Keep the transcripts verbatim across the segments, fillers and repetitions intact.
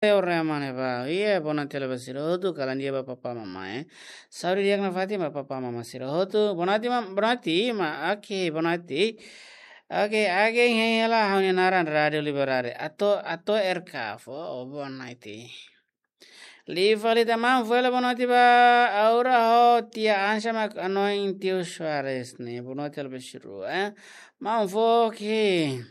Ore mane ba, iha bonaite hela ba sira hotu, kalan di'ak ba papá mamá, eh. Saúde di'ak nafatin ba papá mamá sira hotu, bonaite ma, bonaite ma, oke, bonaite. Oke, oke, hein hela ha'u-nia naran Rádio Liberdade. Ato, ato R K fo, oh, bonaite. Liu fali tan maun, fó hela bonaite ba Aura ho tia Ansa mak hanoin tiu Soares ne'e, bonaite hela ba sira, eh. Maun fó, oke.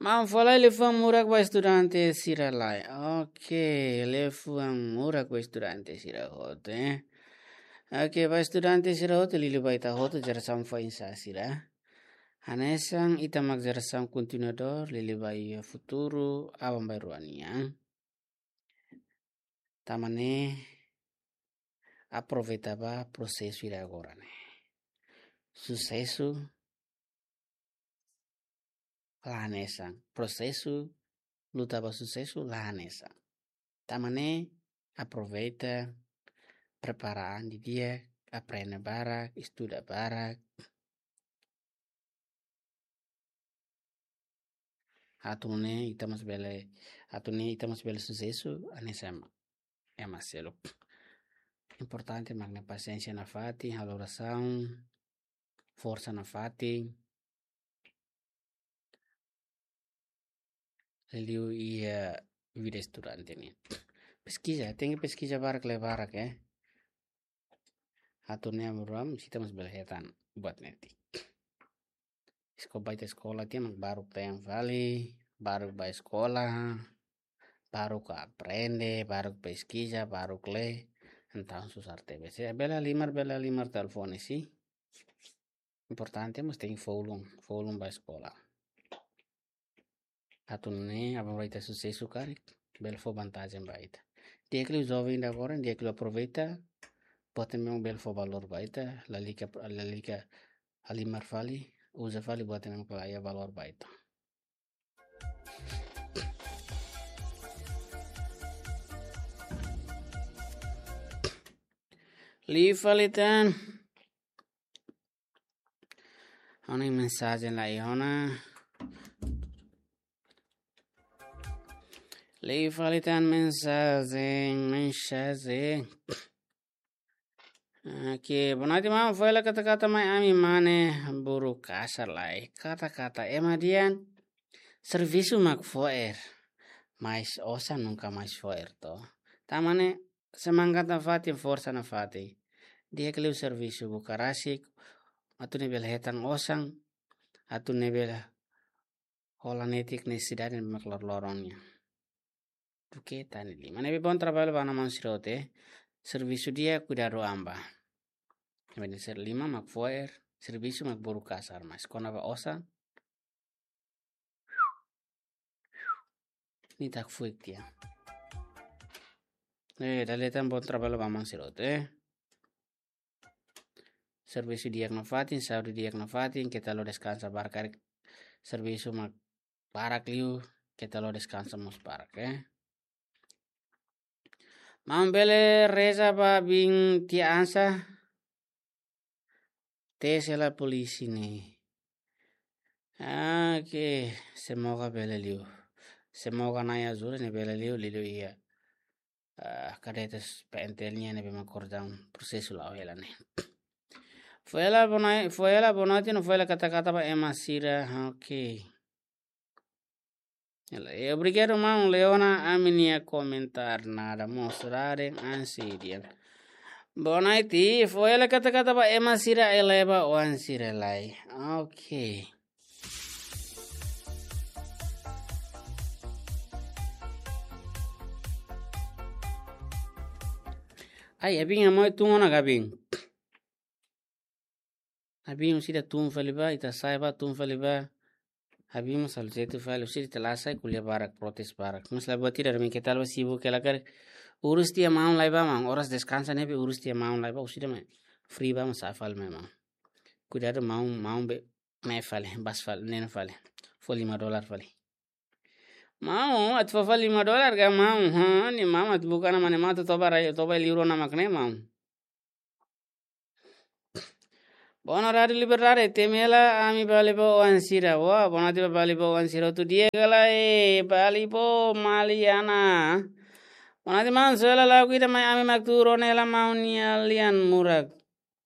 Maun fó lai liafuan murak ba estudante sira lai. Oke, liafuan murak ba estudante sira hotu, eh. Oke, ba estudante sira hotu, liuliu ba ita hotu jerasaun foin-sa'e sira. Hanesan ita mak jerasaun kontinuadór, liuliu ba iha futuru aban-bainrua nian. Tanba ne'e aproveita ba prosesu ida agora ne'e. Susesu la hanesan. Prosesu luta ba susesu la hanesan. Tanba ne'e aproveita, prepara an didi'ak, aprende barak, estuda barak. Atu nune'e ita mós bele, atu nune'e ita mós bele susesu, hanesan ema, ema seluk. Importante mak ne'e pasiénsia nafatin, halo orasaun, forsa nafatin. Liuliu iha vida estudante nian. Peskiza, tenke peskiza barak, lee barak, eh. Atu nune'e aban-bainrua ita mós bele hetan buat netik. Eskola, ba ita eskola tiha mak baruk te'in fali, baruk ba eskola, baruk aprende, baruk peskiza, baruk lee, entaun susar tebes. Se bele halimar, bele halimar telefone, si. Importante mós tenke fó ulun, fó ulun ba eskola. Atu nune'e aban-bainrua ita susesu karik, bele fó vantajen ba ita. Di'ak liu joven ida agora, di'ak liu aproveita, buat ne'ebé mak bele fó valór ba ita, lalika, lalika halimar fali, uza fali buat ne'ebé mak la iha valór ba ita. Liu fali tan. Ha'u-nia mensajen la iha ona. Liu fali tan mensajen, mensajen. Oke, bonaite maun, fó hela kata-kata mai ami mane, buru kasar lai. Kata-kata ema dehan servisu mak fo'er, mas osan nunka mais fo'er to. Tanba ne'e semangat nafatin, forsa nafatin. Di'ak liu servisu buka rasik, atu nune'e bele hetan osan, atu nune'e bele hola netik nesesidade ne'ebé mak loroloron nian. Duké tan ne'e liman. Ne'ebé bom trabalho ba maun sira hotu, eh. Servisu di'ak, kuidadu an ba. Ne'ebé ser liman mak fo'er, servisu mak buru kasar, mas kona-ba osan, nia ita hakfo'er tiha. Eh, dala ida tan bom trabalho ba maun sira hotu, eh. Servisu di'ak nafatin, saúde di'ak nafatin, keta halo deskansa barak karik. Servisu mak barak liu, keta halo deskansa mós barak, eh. Maun bele reza ba biin tia Ansa, tes hela polísia ne'e. Ah, oke, semoga bele liu. Semoga Na'i ajuda ne'e bele liu, liuliu iha, ah, kadetes P N T L nian ne'ebé mak kordang prosesu la'o hela ne'e. Fó hela bonaite, fó hela bonaite no fó hela kata-kata ba ema sira, oke. Hela, eh, obrigadu maun Leona, ami-nia komentar nada mós raren ansi dian. Bonaite, fó hela kata-kata ba ema sira eleba oan sira lai. Oke. Ai, abin amoi tun ona gabin. Abin orsida tun fali ba, ita sa'e ba tun fali ba. Abin mós halo jetu fali, orsida ita la sa'e ko'alia barak, protes barak. Mas la buat ida, ami keta la ba sibuk hela karik. Urus tiha maun lai ba maun, oras deskansa ne'ebé urus tiha maun lai ba, orsida mai. Free ba maun sa'e fali mai maun. Kuidadu maun, maun be, mai fali, bas fali, nena fali. Fó lima dolar fali. Maun, atu fó fali lima dolar ka maun, ha, ne'e maun atu buka ona mane maun atu toba rai, toba liur ona mak ne'e maun. Bona Rádiu Liberdade, temi hela ami Balibo oan sira. Wah, bona tiba Balibo oan sira hotu di'ak ka lae, Balibo Maliana. Bona tiba maun, só hela lagu ida mai ami mak tuur ona hela maun nia lian murak.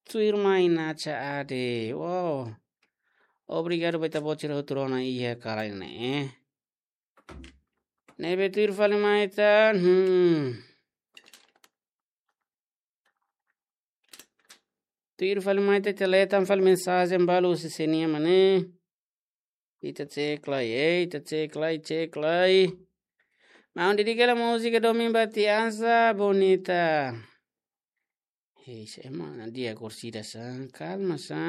Tuirmai Nacha Ade. Wow. Obrigadu ba ita-boot sira hotu rona iha kala ne'e. Ne'ebé tuir fali mai ita. Hmm. Tuir fali mai ita, ita lee tan fali mensajen balu husi sé nian mak ne'e. Ita cek lai, eh, ita cek lai, cek lai. Maun, dedika hela múzika Domin ba Tia Ansa Bonita. Hei, sé mak ne'e, dia korsida sa, kalma sa.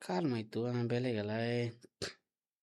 Kalma uitoan, bele ka lae.